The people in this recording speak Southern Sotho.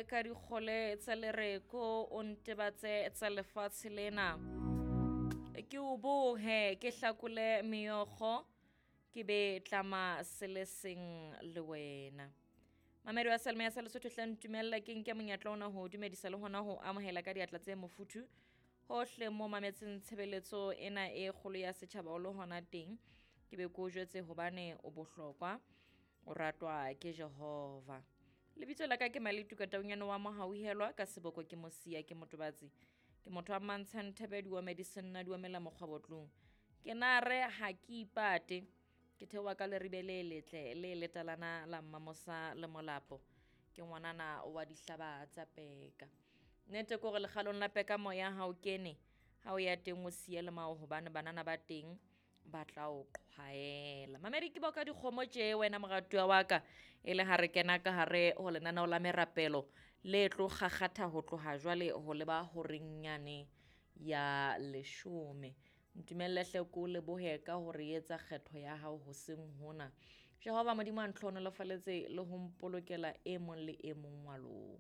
Nthute ka dikgole tsa lereko, o ntebatse tsa lefatshe lena. Ke o bohe, ke hlakole meokgo, ke be tlama se le seng le wena. Mamedi wa Salme ya sa Lesotho, hle ntumella ke nke monyetla ona ho dumedisa le hona ho amohela ka diatla tse mofuthu hohle mo mametseng tshebeletso ena e kgolo ya setjhaba o le hona teng. Ke be ke o jwetse hobane o bohlokwa, o ratwa ke Jehova. Lebitso la ka ke Maletuka Taunyane wa Mohauhelwa, ka seboko ke Mosia, ke motobatsi. Ke motho wa Mantshang Thebe, di wa Medicine, di wa mela mokgwa botlong. Ke na re ha ke ipate. Ke theoha ka leribe le letle le letalana la Mmamosa le Molapo. Ke ngwanana wa dihlaba tsa peka. Nnete ke hore lekgalong la peka moya ha o kene, ha o ya teng o siye le mao hobane banana ba teng ba tla o qhwaela. Mamedi ke boka dikgomo tje wena moratuwa wa ka, e le ha re kena ka hare ho lenaneo la merapelo le tlo kgakgatha ho tloha jwale ho leba horeng yane ya leshome. Ntumelle hle ke o lebohe ka hore etsa kgetho ya hao hoseng hona. Jehova Modimo a ntlhohonolofaletse le ho mpolokela e mong le e mong wa lona.